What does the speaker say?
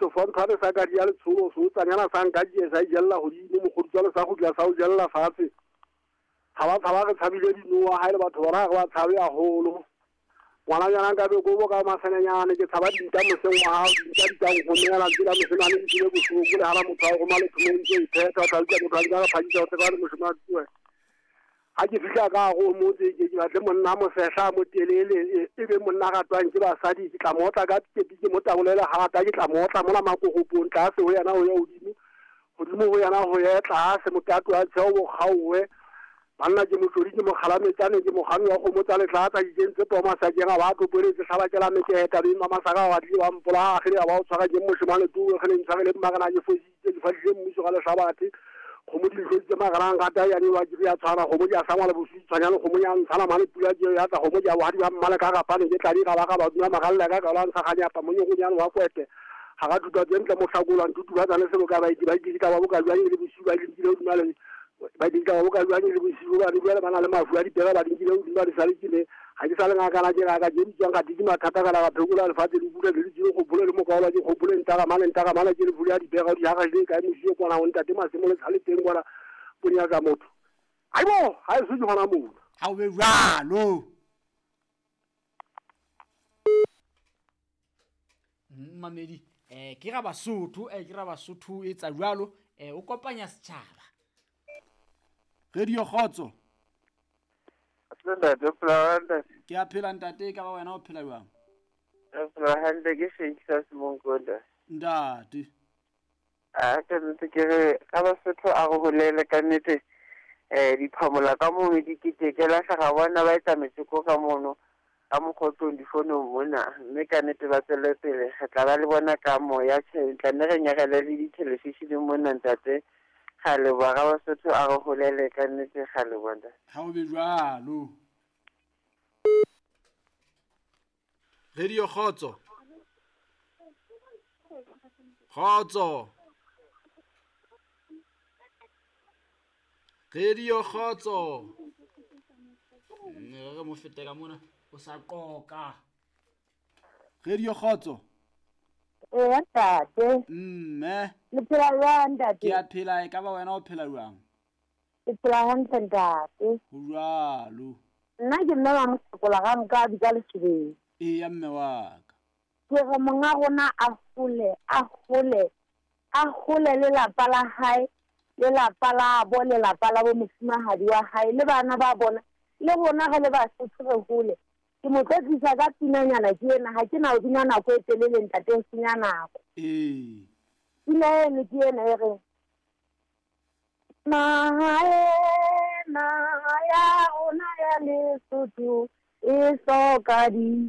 Sefontshwane sa ka di ya letsholo seotsanyana sa nka die sa ijella godimo mogodutswane sa gutla sa o jella fatshe. Tshaba tshaba re tshabile dinoa ha e le batho bona ga re ba tshabe haholo. Ngwananyana nka be kobo ka masenenyane ke tshaba dinta moseng wa hao dinta di tlang gomela tsela moshemane di tsile bohloko le hana motho a roma lethomong tse iphetha o tla utlwa motho a ntse a re phakisa o tseba le moshemane tsoe. Ha ke fihla ka hare ho motse ke ke batle monna a mosehla a motelele e be monna a ratwang ke basadi ke tla mo otla ka kepi ke mo tabolele hata ke tla mo otla mona makoropong tlase ho yena ho ya hodimo hodimo ho yena ho ye tlase mokato wa tsheo bo kgaowe banna ke motlodi ke mokgalametsane ke mokgami wa kgomo tsa letlatsa ke kentse poo masakeng a ba topoletse hlabakela meketa beng ba masaka ba batlile ba mpolaya kgele a ba o tshwara ke moshemane tuwe kgele ntshwarele mmarena ke fositse ke fadile mmuso ka lehlabathe kgomo di ntloditse magarang gata ya newa ke ya tshwana kgomo di a sangwa le bosutsi tshwanyane kgomo ya ntshana mane pula ke ya tla kgomo di a bohadi ba mmale ka gapane ke tladi ga ba ga ba duma magalela ka ka la ntsha ganyapa monyegonyane wa kwete ga ga thuta tse ntle mohlakolwa ntutu ba tsane seboka ba iti ba itse ka ba boka jwang le bosiu ba dinkile hodima le ba dinka ba boka jwang le bosiu ba jwale ba na le mafu a dipera ba dinkile hodima di sale ke ne ga ke sa le ngakana ke ngaka ke bitswang ga ke mathata kana ga phekola lefatshe le bula le le gopole le mokaola ke gopole ntaka mane ntaka mane ke le fuli ya dipera di haga le kae mosio kwana o ntate masemo le tshale teng kwana bonyaka motho aibo ha e se ke gona mona Ha o be jwalo. Mmamedi ke ra Basotho ke ra Basotho etsa jwalo o kopanya setjhaba. Radio Kgotso. Ntate, o phela hantle? Ke a phela ntate, ka ba wena o phela jwang? Re phela hantle, ke Shakespeare Semonko ntate. Ntate. A ka nnete ke re ka Basotho a re holele ka nnete diphamola ka mono di keteke lahla ga bona ba etsa metjeko ka mono ka mokgotlong difonong mona mme ka nnete ba tswele pele re tla ba le bona ka moya tjhe tla nne re nyarele le dithelefisheneng mona ntate. Ga leboha ga Basotho a re holele ka nnete ga leboha ntate. Ha o be jwalo. Radio Kgotso. Kgotso. Radio Kgotso. Re mo fete ka mona o sa qoka. Radio Kgotso. Ee ntate. Mme. Le phela jwang ntate? Ke a phela e ka ba wena o phela jwang? Ke phela hantle ntate. Ho jwalo. Nna ke mme wa Mohlakola ga nka bitsa Leshobeng. Eya mme wa ka. Ke re monga rona a hole, a hole, a hole le lapa la hae, le lapa la bo, le lapa la bo mofumahadi wa hae, le bana ba bona, le rona re le Basotho re hole. Ke mo tlotlisa ka pinanyana ke ena, ha ke na ho bina nako e telele ntate ho senya nako. Ee. Pina eno ke ena e reng, Naha ena ya rona ya Lesotho e hloka di